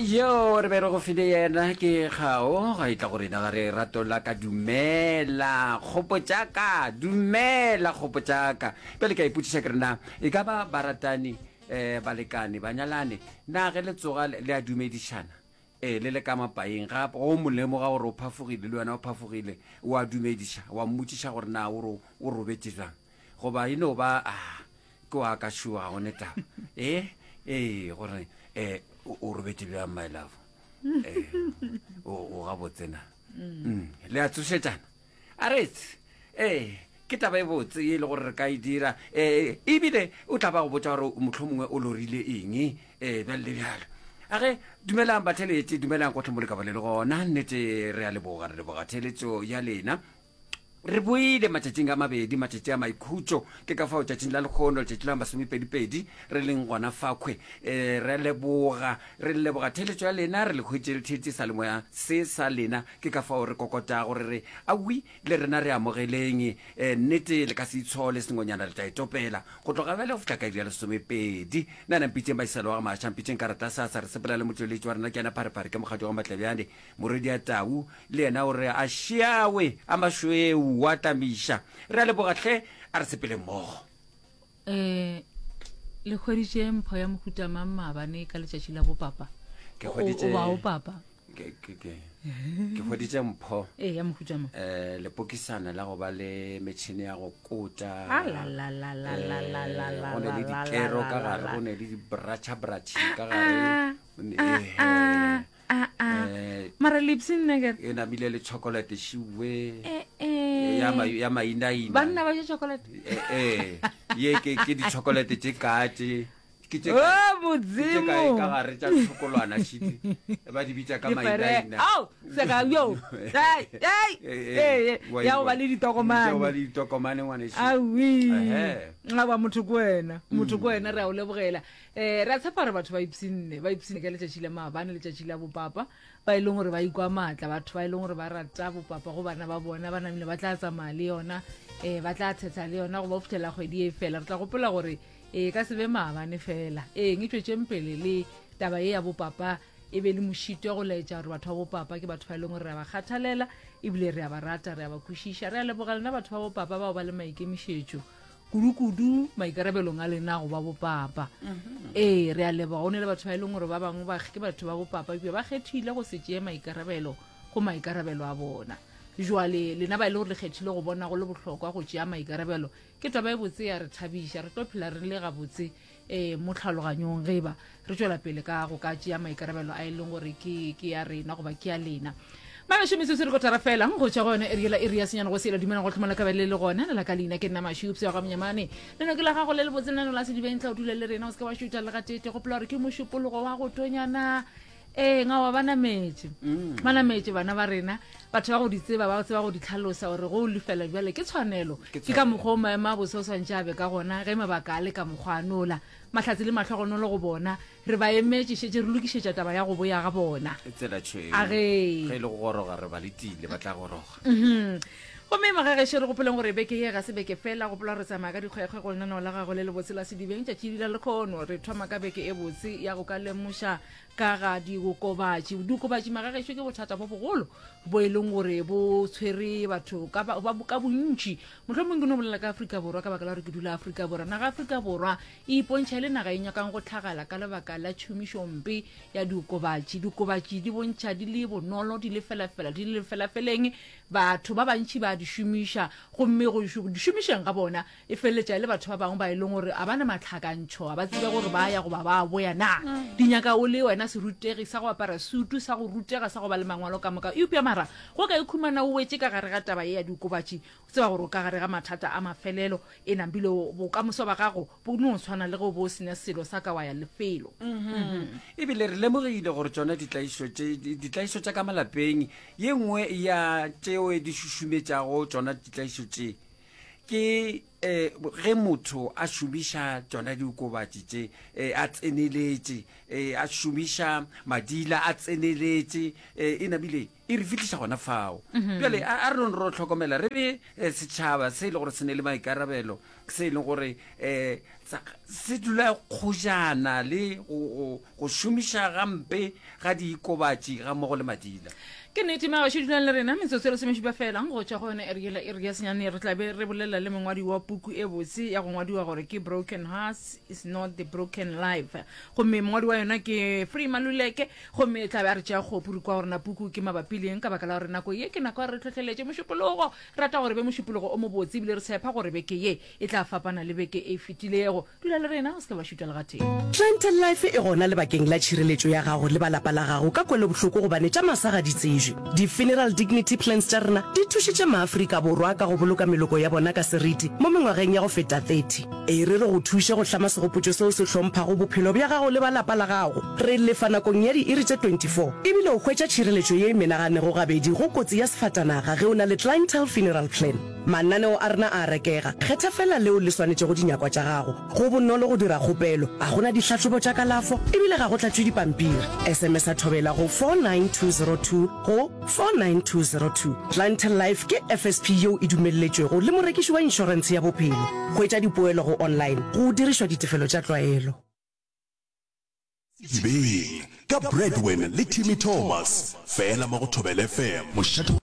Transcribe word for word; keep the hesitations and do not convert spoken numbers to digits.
Yo re be re go file yena ke kgao ga e tla go rena ga re rato la ka dumela kgopo tša ka dumela kgopo tša ka bjale ka ipotšiša ke re na e ka ba baratani um balekane banyalane na ge le tsoga le a dumedišana ee le le ka mapaeng gape go mo lemoga gore o phafogile le wena o phafogile o a dumediša wa mmotšiša gore na o o robetše bjang goba e no ba a ke wa ka šua ga gone taba ee ee gore um o robetše bjang my love eh o o gabotse na Mm, le a tsošetšana a retse ee ke taba e botse e le gore re ka e dira um ebile o tla ba go botsa gore motlho mongwe o lorile eng um bjale le bjalo a ge dumelang batheletše dumelang gotlhe mo le ka ba le le gona nnete re a leboga re leboga theletšo ya lena re boile matšatšing a mabedi matšatši a maikhutšo ke ka fao tšatšing la lekgono letšatši la masomepedipedi re leng gona fakhwe um re leboga re leboga theletšo ya lena re le hwetše le theetše sa lemoya se sa lena ke ka fao re kokotago re re awi le rena re amogeleng um nnete le ka se itshole sengwenyana le tla itopela go tloga bjale go fihla ka iri ya lesomepedi nna na mpitseng baiselo wa ga maša mpitseng karata sasa re sepela le motšweletši wa rena ke yena pharephare ke mokgadi wa matlebjane morwedi ya tau le yena o re a šiawe a mašweu wa tamiša re a leboga hle a re sepele mmogo um le hweditše mpho ya mohuta mang maabane ka letšatši la bopapa Ke hweditše- O- o ba o papa ke ke- ke- ke hweditše mpho ee ya mohuta mang um lepokisana la go ba le metšhini ya go kota Ah, la, la, la, la, la, la, la, Eh, la, go ne le la, la, dikero la, ka la, gare la. go ne le di-bracha-brachi ka gare Ah, ah, ah, ah. Eh, mara lipsy nna e namile le chocolate šiwe Eh, eh. ya ma- ya mainaina banna ba ja chocolate Eh, eh, ye ke ke di-chocolate tše ka tše ke tše o kae- ke tše kae modimo ka gare tša tshokolwana šite ba di bitša ka mainaina ao seka yo Ai, ai, Eh, eh, wa- ya go ba le ya go ditokomane ba le ditokomane ngwanešu awi Ehe. aba motho ke wena motho ke wena re a o lebogela um re a tshepa gore batho ba ipshinne ba ipshinne ka letšatši la maabane letšatši la bopapa ba e leng gore ba ikwa maatla batho ba e leng gore ba rata bopapa go bana ba bona ba namile ba tla tsamaya le yona um ba tla thetha le yona go ba fitlhela kgwedi e fela re tla gopola gore e ka se be maabane fela ee e tswetseng pele le taba ye ya bopapa e be le mošito ya go laetša gore batho ba bopapa ke batho ba e leng gore re a ba kgathalela ebile re a ba rata re a ba kwešiša re a leboga lena batho ba bopapa bao ba le maikemišetšo kudu-kudu maikarabelong a lena go ba bopapa ee re a leboga go ne le batho ba e leng gore ba bangwe ba ke batho ba bopapa ebile ba kgethile go se tšee maikarabelo go maikarabelo a bona jwale lena ba e le gore le kgethile go bona go le bohlokwa go tšea maikarabelo ke taba e botse ya re thabiša re tlo phela re le gabotse um mo tlhaloganyong ge ba re tswela pele ka go ka tšea maikarabelo a e leng gore ke ke ya rena goba ke ya lena magasho metsotso re kotara fela go tšwa go yone eri yela iri ya senyane go sela dumelang go tlhomala ka bele le gona le la ka leina ke nna mašupse wa ga monyamane leno ke la gago le le botse lenano la sedibeng tla o dula le rena o se ke wa šutha le gatete gopola gore ke mošupologo wa go tonyana ee ngawa ba nametše ba nametše bana ba rena batho ba go di tseba ba tseba go di tlhalosa gore go o lefela bjale ke tshwanelo Ke ke ka mokgwa o maemo a bose o swantše a be ka gona ge mabaka a le ka mokgwa a nola mahlatse le mahlogonolo go bona re ba emetše šetše re lokišetša taba ya go boya ga bona E tsela tšhweu A ge. ge e le go goroga re ba letile ba tla goroga Mhm. gomme magagešo re gopoleng gore beke ye ga se beke fela gopola re tsamaya ka dikgwekgwe go lenaneo la gago le le botse la sedibeng tšatši la lekgono re thoma ka beke e botse ya go ka lemoša ka ga diokobatši diokobatši magagešo ke bothata bo bogolo bo e leng gore bo tshwere batho ka ba- ba- ka bontši mohlomong ke no bolela ka Afrika Borwa ka baka la gore ke dula Afrika Borwa naga Afrika Borwa e ipontšha e le naga e nyakang go tlhagala ka lebaka la tšhomišompe ya diokobatši diokobatši di bontšha di le bonolo di le felafela di le felafeleng batho ba bantši ba di šomiša gomme go šo- di šomišeng ga bona e feleletša e le batho ba bangwe ba e leng gore a ba na matlhakantšho a ba tsebe gore ba ya goba ba boya na di nyaka o le wena serutegi sa go apara sutu sa go rutega sa go ba le mangwalo ka moka eupša mara go ka ikhumana o wetše ka gare ga taba ye ya diokobatši o tseba gore o ka gare ga mathata a mafelelo e nambile bokamoso ba gago bo no tshwana le ge o bo o sena selo sa ka wa ya lefelo ebile re lemogile gore tsona ditlaišo tše ditlaišo tša ka malapeng ye nngwe ya tšeo di šušumetšago tsona ditlaišo tše Ke um ge motho a šomiša tšona diokobatši tše, um a tseneletše, um a šomiša madila a tseneletše, um e namile e re fihliša gona fao. Bjale a a re nong ro hlokomela, re be setšhaba se e le gore se ne le maikarabelo, se e leng gore um se dula kgojana le go, go, go šomiša gampe ga diokobatši gammogo le madila. Ke nnete, magašo dulang le rena metsotso e lesomešupa fela go tšwa go yona iri yela iri ya senyane. Re tla be re bolela le mongwadi wa puku e botse ya go ngwadiwa gore ke Broken Hearts is not the Broken Life, gomme mongwadi wa yona ke Free Maluleke, gomme e tla be a re tšea kgopu re kwa gore na puku ke mabapi le eng, ka baka la gore nako ye ke nako ya re hlohleletše mošupologo. Re rata gore be mošupologo o mobotse ebile re tshepa gore beke ye e tla fapana le beke e fetilego. Dula le rena, o se ke wa šutha le gatee. Clientele Life e gona lebakeng la tšhireletšo ya gago le ba lapa la gago ka kwelobohloko gobane tša masa ga di tsejwe. Di-funeral dignity plans tša rena di thušitše maAfrika Borwa ka go boloka meloko ya bona ka seriti mo mengwageng ya go feta thirty. E re re go thuše go hlama segopotšo seo se hlomphago bophelo bja gago le ba lapa la gago. Re lefa nakong ya diiri tše twenty four ebile o hwetša tšhireletšo ye e menaganego gabedi go kotsi ya sefatanaga ge o na le Clientele Funeral Plan. Mananeo a rena a a rekega, kgetha feela leo le swanetšego dinyakwa tša gago. Go bonolo go dira kgopelo, ga go na dihlahlobo tša kalafo e bile ga go tlatšwe dipampiri. S M S-a Thobela go four nine two zero two go four nine two zero two. Clientele Life ke F S P yeo e dumelletšwego le morekiši wa inšorentshe ya bophelo. Hwetša dipoelo go online go dirišwa ditefelo tša tlwaelo. Sedibeng ka Bradwin le Timmy Thomas, fela mo go Thobela F M, mošate wa.